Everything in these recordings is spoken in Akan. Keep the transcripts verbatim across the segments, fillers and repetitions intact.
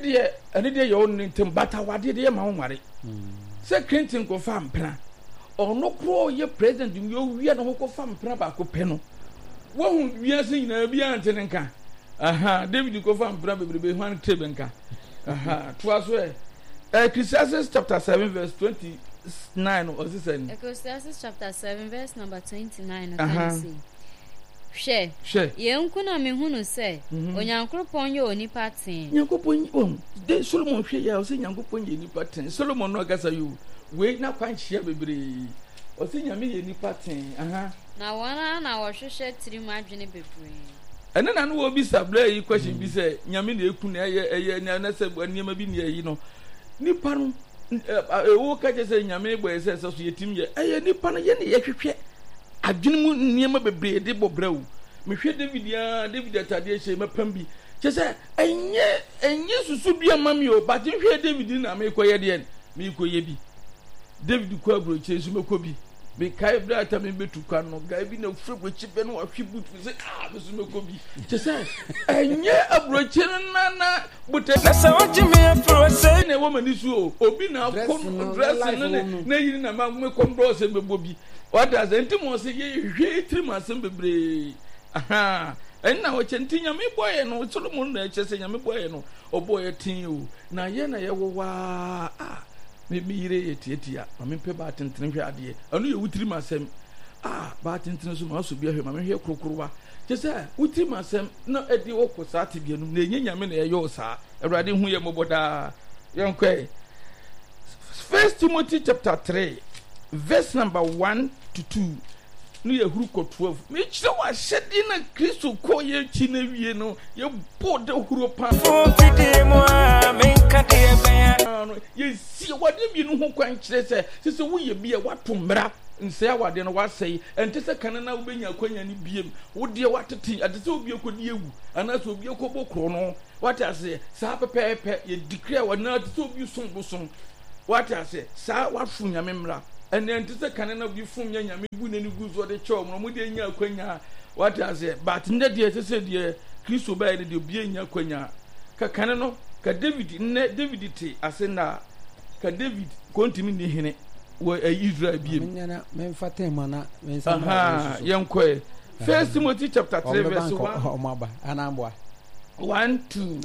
deɛ ɛne deɛ yɛ wo ne ntam, but awadeɛ deɛ yɛ ma wo nware. Sɛ Clinton kɔfa mpena, ɔno korɔ yɛ president yɛ owia ne ho kɔfa mpena baako pɛ no, wahu wiase nyinaa biara nte ne nka. Aha, David kɔfa mpena bebrebe, hwan te bɛ nka? Aha, toa so ɛ. Ecclesiastes chapter seven verse twenty-nine ɔsi sɛ. Ecclesiastes chapter seven verse number twenty-nine no kan se. Hwɛ. Hwɛ. Yɛn nko na mehunu sɛ Onyankopɔn yɛ onipa tee. Nyankopɔn wɔn de Solomon hwɛ yɛ ɔsɛ Nyankopɔn yɛ nipa tee. Solomon no akasa yi o. Wei na kwan hyia bebree. Ɔsɛ Nyame yɛ nipa tee. Aha. Na wɔn ara na wɔhwehwɛ tirim adwene bebree. Ɛne na no wɔbisa berɛ yi question bi sɛ Nyame na eku na ɛyɛ ɛyɛ na na sɛ nneɛma bi na ɛyi no. Nipa no ɛwɔ ka kyerɛ sɛ Nyame bɔ yɛ sɛ ɛsɛ so yɛtim yɛ. Ɛyɛ nipa no yɛ ne yɛhwehwɛ adwene mu nneɛma bebree de bɔ brɛ o. Mehwɛ David a David atadeɛ hyɛ mɛpam bi. Kyerɛ sɛ ɛnyɛ ɛnyɛ susu bi ama mi o, but nhwɛ David na mekɔyɛ deɛ mekɔyɛ bi. David kɔ aburokyire nso mɛkɔ bi. Mekae berɛ a tame bɛtu kwan no, guy bi na ofiri aburokyire bɛ no wahwe boot mi sɛ ah me so mɛkɔ bi. Kyerɛ sɛ ɛnyɛ aburokyire no na na botɛ. Na sɛ wogye me afiri ɔsɛe. Na ɛwɔ m'ani so o, obi na akɔ dressing no ne na yiri na ma mekɔ ndɔɔ sɛ mɛbɔ bi. Wate ase? Nti mo sɛ yɛhwehwɛ tirim asɛm bebree. Aha, ɛnna ɔkyɛ nti Nyame bɔeɛ no, Solomon na ɛkyɛ sɛ Nyame bɔeɛ no, ɔbɔeɛ tee o. Na yɛ na yɛwɔ waa a, me me yere yɛ tiatia, ma mempɛ baa tentene hwɛ adeɛ. Ɛno yɛ wo tirim asɛm. A, baa tentene so ma asɔ bi ahwɛ, ma menhwɛ korokorowa. Kyɛ sɛ wo tirim asɛm na ɛde wokɔ saa tebea no mu, na ɛnyɛ Nyame na ɛyɛ wo saa. Awurade hu yɛ mmɔbɔ daa. Yɛnkɔ ɛ. First Timothy chapter three verse number one to two no yɛ huru kɔ twelve. Mekyerɛ wɔ ahyɛdeɛ na Kristo kɔ yɛ akyi na wie no yɛbɔ da huro paa. No yɛsi awadeɛ mmienu ho kwan kyerɛ sɛ sɛ sɛ woyɛ bi a wato mmara nsɛe awadeɛ no wasɛe. Ɛnte sɛ kane na wobɛnya akwanya no biem. Wodeɛ watete ɛte sɛ obi akɔdi awu anaasɛ obi akɔbɔ korɔ no. Wate aseɛ? Saa pɛpɛɛpɛ yɛ declare wɔ na te sɛ obi som bosom. Wate aseɛ? Saa wafom Nyame mmara. Ɛnɛ nte sɛ kane na obi fom nyɛ Nyame bu n'ani gu so ɔde kyɛ wɔn na wɔn deɛ nya akwanya. Wate aseɛ? But nnɛ deɛ ɛsɛ sɛ deɛ Kristo bɛyɛ no deɛ obi nya akwanya. Ka kane no, ka David nnɛ David te ase nnɛ a, ka David kɔntumi nni hene wɔ Israel biem. Memfa tɛm ana mensa mmra. Yɛnkɔɛ. First Timothy chapter three verse one. One two.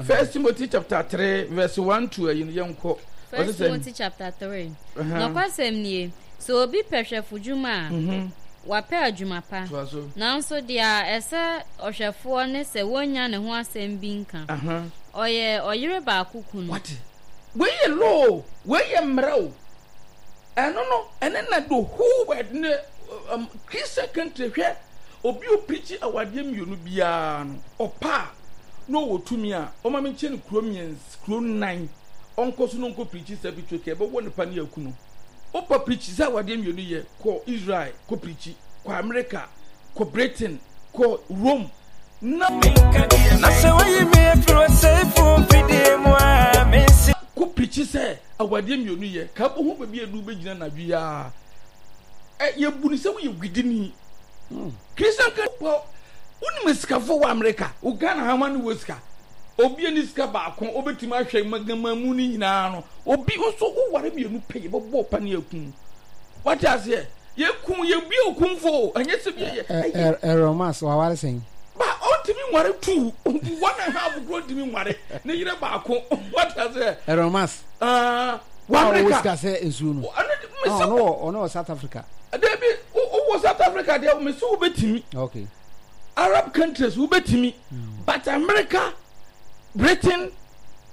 First Timothy chapter three verse one two ɛyi no yɛn kɔ. First Timothy chapter three. Nɔkwasɛm nie, sɛ obi pɛ hwɛfo dwuma a, mm-hmm. wapɛ adwuma pa. Nanso deɛ ɛsɛ ɔhwɛfoɔ ne sɛ wɔnnya ne ho asɛm bi nka. Ɔyɛ ɔyere baako kunu. Wate? Wei yɛ law, wei yɛ mmara o. Ɛno no, ɛne na the whole world ne um, Christian country hwɛ obi o preach awadeɛ mmienu biara no ɔpa a na ɔwɔ tumi a ɔma me nkyɛn no kuro mmiɛnsa kuro nnan ɔnkɔ so na ɔnkɔ preach sɛ bi twɛ ɛbɛwɔ nipa ne aku no. Ɔpa preach sɛ awadeɛ mmienu yɛ kɔ Israel kɔ preach kɔ America kɔ Britain kɔ Rome na Na sɛ woyi me afiri ɔsɛefo mfidie mu a mensi. Kɔ preach sɛ awadeɛ mmienu yɛ ka bɔ ho baabi a ɛdu bɛgyina anadwo yi a ɛ yɛbu no sɛ woyɛ gwidini. Christian ka pɔ wonim asikafoɔ wɔ America wo Ghana ha ma ne wɔ sika obi ani sika baako obɛtumi ahwɛ magama mu no nyinaa no obi nso woware mmienu pɛ yɛbɛbɔ pa ne akum wate aseɛ yɛkum yɛbie okumfo ɛnyɛ sɛ bi yɛ Errol Musk waware sɛn? Ba ɔntumi nware two one and half kuro ntumi nware ne yere baako wate aseɛ Errol Musk. Ah, wɔ America ɔwɔ sika sɛ nsuo no. Ɔno wɔ ɔno wɔ South Africa. Dabi wowɔ South Africa deɛ mesi wobɛtumi. Okay. Arab countries wobɛtumi. Mm. But America, Britain,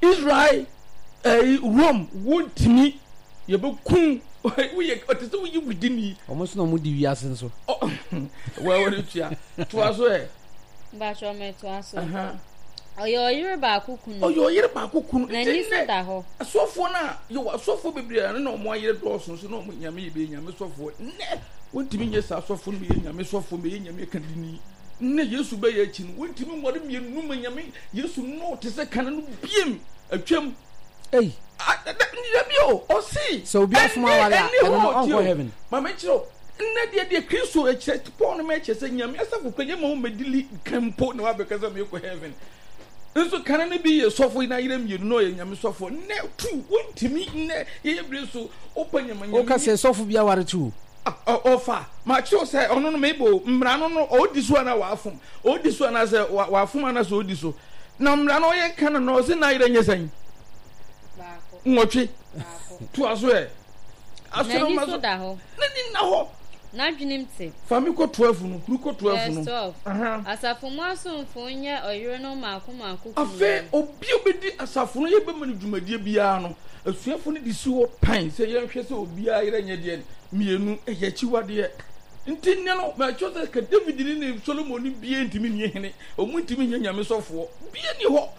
Israel, eh, Rome wontumi yɛbɛku woyɛ ɔte sɛ woyɛ wudini. Wɔn nso na wɔn di wiase nso. Wɔ wɔde tua toa so ɛ. Mbakyɛ mɛtoa so. Ɔyɛ ɔyere baako kunu. Ɔyɛ ɔyere baako kunu. N'ani so da hɔ. Asɔfoɔ no a yɛwɔ asɔfoɔ bebree a na wɔn ayere dɔɔso nso na wɔn nyame yɛ bɛyɛ nyame sɔfoɔ. Nnɛ wɔntumi nyɛ saa asɔfoɔ no bɛyɛ nyame sɔfoɔ bɛyɛ nyame kadini. Nnɛ Yesu bɛyɛ akyi no wɔntumi nware mmienu ma nyame Yesu no te sɛ kane no biem atwam. Ei. Dabi o ɔsi. Sɛ obi afom aware a ɛno no ɔnkɔ heaven. Maame kyerɛ o nnɛ deɛ deɛ Kristo ɛkyerɛ Paul no ma ɛkyerɛ sɛ nyame asafo kura yɛ ma wɔn mɛdili kan mpo na wabɛka sɛ mekɔ heaven. Nso kane no bi yɛ sɔfo yi n'ayerɛ mmienu na ɔyɛ nyame sɔfo. Nnɛ tu wontumi nnɛ yɛyɛ bere so wopɛ nyama nyame. Woka sɛ sɔfo bi aware tu. Ɔfa makyerɛw sɛ ɔno no mebɔ mmara no no ɔdi so anaa wafom ɔdi so anaa sɛ wafom anaa sɛ ɔdi so na mmara no ɔyɛ ka no na ɔsɛ n'ayerɛ nyɛ sɛn nwɔtwe toa so ɛ. N'ani so da hɔ. N'ani nna hɔ. N'adwenem te. Fa me kɔ twelve no, huru kɔ twelve no. Verse twelve. Asafo mu asomfo nyɛ ɔyerenom mmaako mmaako kununom. Afei obi a obedi asafo no yɛbɛma no dwumadie biara no, asuafo no de si hɔ pan sɛ yɛnhwɛ sɛ obiara yerɛ nyɛ deɛ mmienu, ɛyɛ akyiwadeɛ. Nti nnɛ no, makyerɛ sɛ ka David ne ne Solomon no biara ntumi nyɛ hene, wɔn ntumi nyɛ nyame sɔfoɔ, biara ni hɔ.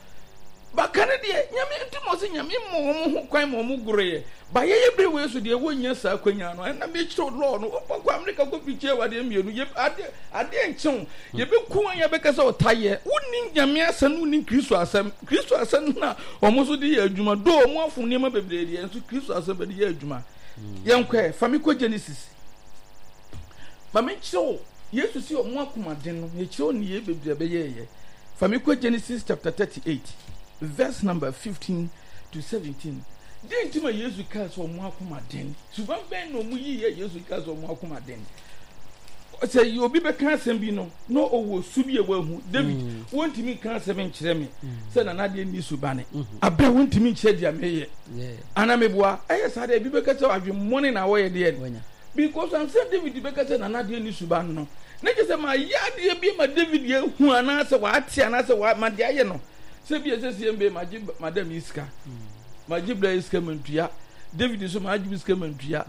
Baka no deɛ, Nyame nti ma ɔse Nyame ma wɔn ho kwan ma wɔn goroeɛ. Ba yɛyɛ bere wei so deɛ wɔnnya saa akwanya no. Ɛna mekyerɛw law no, wokɔ kɔ Amerika kɔ pikyi awadeɛ mmienu, yɛ adeɛ adeɛ nkyew, yɛbɛku wɔn yɛbɛka sɛ ɔtayɛ. Wonni Nyame asɛm, wonni Kristo asɛm. Kristo asɛm no na wɔn nso de yɛ adwuma. Do wɔn afom nneɛma bebree deɛ, nso Kristo asɛm bɛde yɛ adwuma. Yɛnkɔ ɛ, fa me kɔ Genesis. Ma menkyerɛ wo, Yesu si wɔn akomaden no, mekyerɛ wo nneyɛe bebree a ɛbɛyɛeɛ. Fa me kɔ Genesis chapter thirty eight, verse number fifteen to seventeen. Dɛn nti ma Yesu kaa sɛ wɔn akomaden? Suban bɛn na wɔn yiiɛ Yesu kaa sɛ wɔn akomaden? Sɛ obi bɛka asɛm bi no, na ɔwɔ su bi a wahu. David, mm. wontumi nka asɛm nkyerɛ me mm. sɛ nana deɛ nni subane. Mm-hmm. Abɛ wontumi nkyerɛ deɛ meyɛ. Ana meboa? Ɛyɛ saa deɛ ebi bɛka sɛ adwemmɔne na wɔyɛ deɛ. Because ansa David bɛka sɛ nana deɛ ne suban no, na kyerɛ sɛ mayɛ adeɛ bi ma David ahu anaasɛ wate anaasɛ wa ma deɛ ayɛ no. Sɛ bi ɛsɛ sɛ mbe magye madam yi sika, magye bra yi sika mantua, David nso magye bi sika mantua,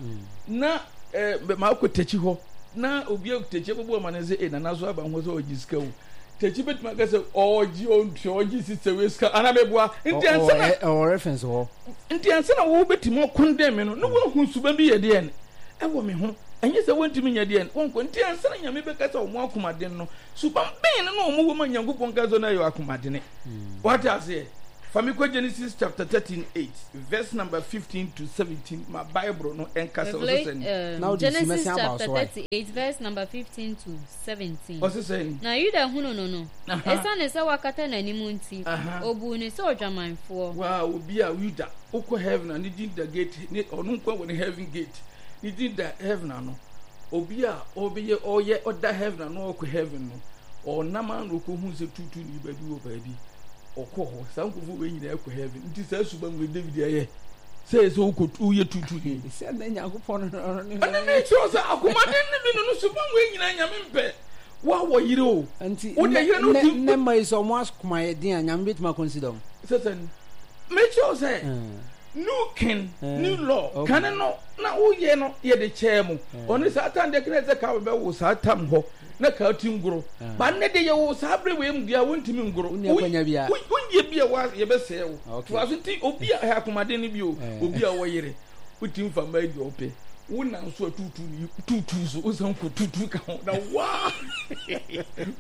na eh, makɔ takyi hɔ na obi a takyi bɛbɔ ama no sɛ eh, nana so aba ho sɛ ɔgye sika o. Takyi bɛtumi aka sɛ ɔgye ɔntua ɔgye sista wei sika anaa meboa. Nti ansa na ɛwɔ reference hɔ. Nti ansa na wobɛtumi akɔndɛn me no, na woahu suban bi yɛ deɛn ɛwɔ me ho. Ɛnyɛ sɛ wontumi nyɛ deɛn, wonkɔ. Nti ansa na Nyame bɛka sɛ wɔn akomaden no, suban bɛn no na wɔn wɔ ma Nyankopɔn ka sɛ na ɛyɛ akomadene. Wate aseɛ? Fa me kɔ Genesis chapter thirteen eight, verse number fifteen to seventeen, ma Bible no ɛnka sɛ ɔse sɛn. Na wode si Genesis mɛsen aba chapter so ae. thirty eight verse number fifteen to seventeen. Ɔse sɛn? Na Yuda hunu no no, Aha. esiane sɛ wakata n'anim nti, Aha. obuu no sɛ odwamanfoɔ. Waa obi a Yuda wokɔ heaven a ne din da gate ne ɔno nko wɔ ne heaven gate ne din da heaven ano obi a ɔbɛyɛ ɔyɛ ɔda heaven ano ɔkɔ heaven no ɔnam ano ɔkɔhu sɛ tutu ne baabi wɔ baabi ɔkɔ hɔ saa nkurɔfoɔ wei nyinaa kɔ heaven nti saa suban wei David ayɛ sɛ sɛ wokɔ woyɛ tutu ni Sɛ na Nyankopɔn no ne ɛne ne kyerɛ sɛ akomaden ne bi no no suban wei nyinaa Nyame mpɛ woawɔ yere o Nti wode yere no ti nnɛ mma yi sɛ ɔmo akoma yɛ den a Nyame bɛtumi akɔnsida ɔmo. Sɛ sɛ mekyerɛ wo sɛ new king new law kane no na woyɛ no yɛde kyɛɛ mo ɔne saa tam deɛ kene sɛ ka bɛwo saa tam hɔ na ka ti ngoro ba nnɛ de yɛwo saa bere wei mu deɛ wontumi ngoro wonyɛ bi a yɛbɛsɛɛ wo toa so nti obi a akomaden no bi o obi a wɔyere wotumi fa mmaa di ɔpɛ wo nam so a tutu ne tutu so wosan kɔ tutu ka ho na waa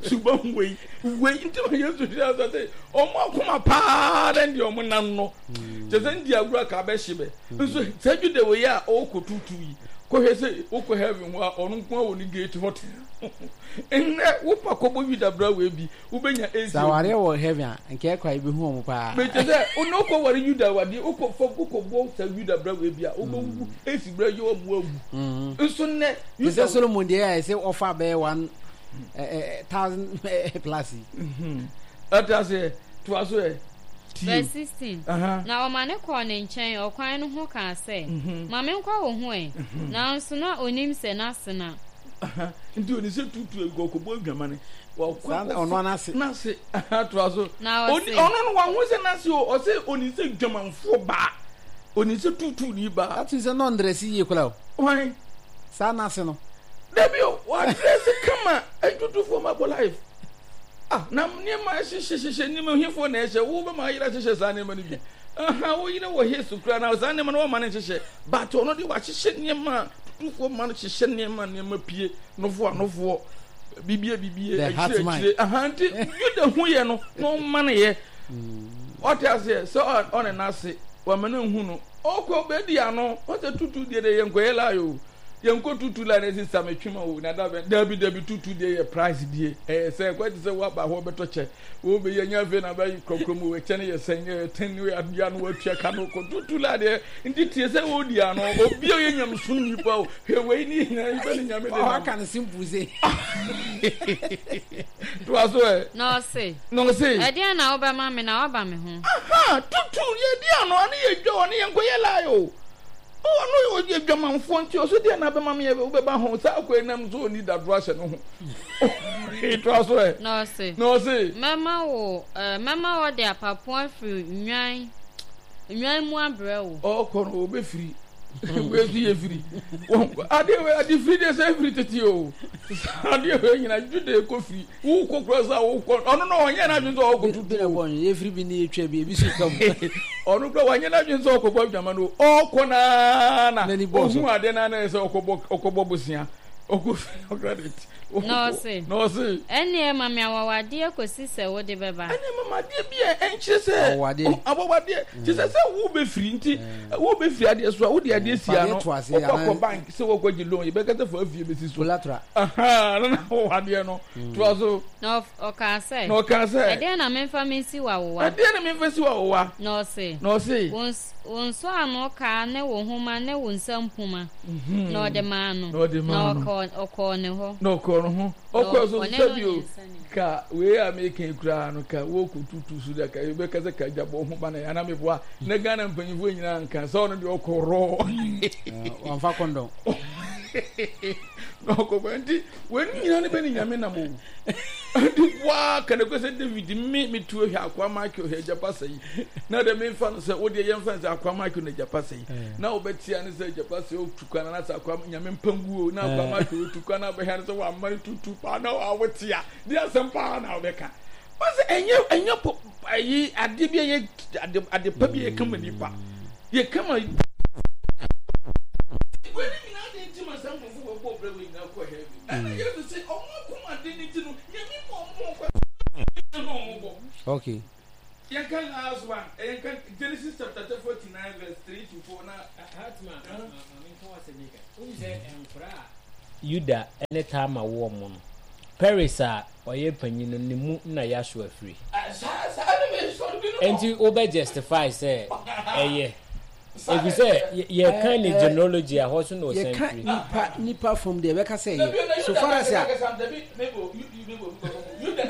suban wei wei nti ma Yesu hwɛ asa sɛ ɔmo akoma paa dɛ deɛ ɔmo nam no kyɛ sɛ ndi agorɔ a ka bɛhye bɛ nso sɛ dwuda wei a ɔkɔ tutu yi kɔhwɛ sɛ wokɔ heaven hɔ a ɔno nko a wɔ ne gate hɔ te nnɛ wopa kɔbɔ Yuda bra wei bi wobɛnya Sɛ awareɛ wɔ heaven a, nka ɛkɔ a yɛbɛhu wɔn paa. Mekyɛ sɛ, wo ne wokɔ ware Yuda awadeɛ, wokɔ fam, wokɔ bɔ saa Yuda bra wei bi a, wobɛwu, esi bra yɛ wɔn awu. Nso nnɛ, Te sɛ Solomon deɛ a ɛsɛ ɔfa bɛyɛ one thousand plus yi. Ɛte aseɛ, toa so ɛ. Verse sixteen. Na ɔma no kɔɔ ne nkyɛn ɔkwan no ho kaa sɛ, Ma menkɔ wo ho ɛ. Nanso na onim sɛ n'asena. Nti oni sɛ tutu egu ɔkɔbɔ adwamane. Saa na ɔno n'ase. N'ase toa so. Na ɔse. Ɔno no wahu sɛ n'ase o, ɔse oni sɛ dwamanfoɔ baa. Oni sɛ tutu ni baa. That means sɛ na ɔndrɛse yie koraa o. Hwan? Saa n'ase no. Dabi o, wadrɛse kama, atutufoɔ ma bɔ life. Ah, na nneɛma hyehyɛhyehyɛ nneɛma hefoɔ na ɛhyɛ, wo bɛma ayere ahyehyɛ saa nneɛma no bi. Aha, wo yere wɔ his koraa na saa nneɛma no wɔma no nhyehyɛ. But ɔno de wahyehyɛ nneɛma, tutufoɔ ma no hyehyɛ nneɛma, nneɛma pie, nofoɔ anofoɔ, bibie bibie, akyire akyire. Aha, nti Yuda hu yɛ no, na ɔma no yɛ. Ɔte aseɛ sɛ ɔne n'ase, wama no nhu no. Ɔkɔ bɛdi ano, ɔsɛ tutu deɛ deɛ yɛ nkɔyɛ lie o. Yɛnkɔ tutu la na sista metwe ma wo na da bɛn dabi dabi tutu deɛ yɛ price die ɛyɛ sɛ kɔ te sɛ woaba hɔ bɛtɔ kyɛ wo bɛyɛ nya afei na bɛyi kurɔkurɔ mu ɛkyɛ no yɛ sɛn yɛ ten ne adeɛ no watua ka no kɔ tutu la deɛ nti tie sɛ wodi ano obi a ɔyɛ nyamesom nipa o hwɛ wei ne nyinaa nipa ne nyame de nam ɔka no simple se toa so ɛ na ɔse na ɔse ɛdeɛn na wobɛma me na woaba me ho aha tutu yɛdi ano ane yɛdwa ɔne yɛnkɔyɛ lie o ɔno ɔyɛ dwamanfoɔ nti ɔso deɛ na bɛma me wobɛba ho saa akɔ nam so ɔni dadoro ahyɛ no ho toa so ɛ na ɔse na ɔse mɛma wo mɛma wɔde apapo afiri nnwan nnwan mu abrɛ wo ɔkɔ no ɔbɛfiri wei so yɛ firi adeɛ wei ade firi deɛ sɛ firi tete o adeɛ wei nyina jude kɔ firi wokɔ kura sɛ wokɔ ɔno no ɔnyɛ n'adwene sɛ ɔkɔ tutu yɛfiri bi ne yɛtwa bi ebi so ka mu ɔno kura wanyɛ n'adwene sɛ ɔkɔbɔ adwama no ɔkɔ naa na ɔhu adeɛ naa na sɛ ɔkɔbɔ ɔkɔbɔ bosea ɔkɔ firi ɔkra de ti na ɔse na ɔse ɛnneɛ ma me awawadeɛ kɔsi sɛ wode bɛba ɛnneɛ ma me adeɛ bi a ɛnkyerɛ sɛ awawadeɛ awawadeɛ kyerɛ sɛ sɛ wobɛfiri nti wobɛfiri adeɛ so a wode adeɛ si ano wokɔ akɔ bank sɛ wɔkɔ gye loan yɛbɛka sɛ fa afie bɛsi so collateral na na awawadeɛ no toa so na ɔkaa sɛ na ɔkaa sɛ ɛdeɛ na memfa mensi w'awowa ɛdeɛ na memfa si w'awowa na ɔse na ɔse wo nsɔano kaa ne wo homa ne wo nsa mpoma na ɔde maa no na ɔde maa no na ɔkɔɔ ne hɔ na ɔkɔɔ ne ho ɔkɔɔ so sɛ bio ka wei a meka koraa no ka wɔkɔ tutu so da ka yɛbɛka sɛ ka gyabɔ ho ba na yɛana meboa na Ghana mpanyimfoɔ nyinaa nka sɛ ɔno deɛ ɔkɔ rɔɔ wamfa kɔndɔm na ɔkɔbɔ nti wei nyinaa ne bɛne nyame nam o nti waa ka ne kɔ sɛ David me metu ahwɛ akoa Michael hwɛ agyapa sɛ yi na de memfa no sɛ wodeɛ yɛmfa no sɛ akoa Michael na agyapa sɛ yi na wobɛtea ne sɛ agyapa sɛ ɔtu kwan na sɛ akoa nyame mpanguo na akoa Michael ɔtu kwan na wobɛhwɛ no sɛ wamma no tutu paa na wawotea de asɛm paa na wobɛka wɔsɛ ɛnyɛ ɛnyɛ po ayi adeɛ bi a yɛ ade ade pa bi a yɛka ma nipa yɛka ma wei ne nyinaa de nti ma saa nkurɔfoɔ wɔ bɔ brɛ wei nyinaa kɔ heaven ɛna Yesu sɛ ɔmo akoma de ne ti no nyame ma ɔmo kɔ na ɔmo bɔ okay yɛnka last one yɛnka Genesis chapter forty nine verse three to four na Hatma maame nka wasɛm yi ka wohu sɛ nkora a Yuda ne Tamar woɔ mo no Peres a ɔyɛ panyin no ne mu na Yahshua firi saa saa ne me sɔre bi no nti wobɛ justify sɛ ɛyɛ ɛfiri sɛ yɛka ne genealogy a hɔ so na ɔsan yɛka firi nipa nipa fam deɛ ɛbɛka sɛ yɛ so far as a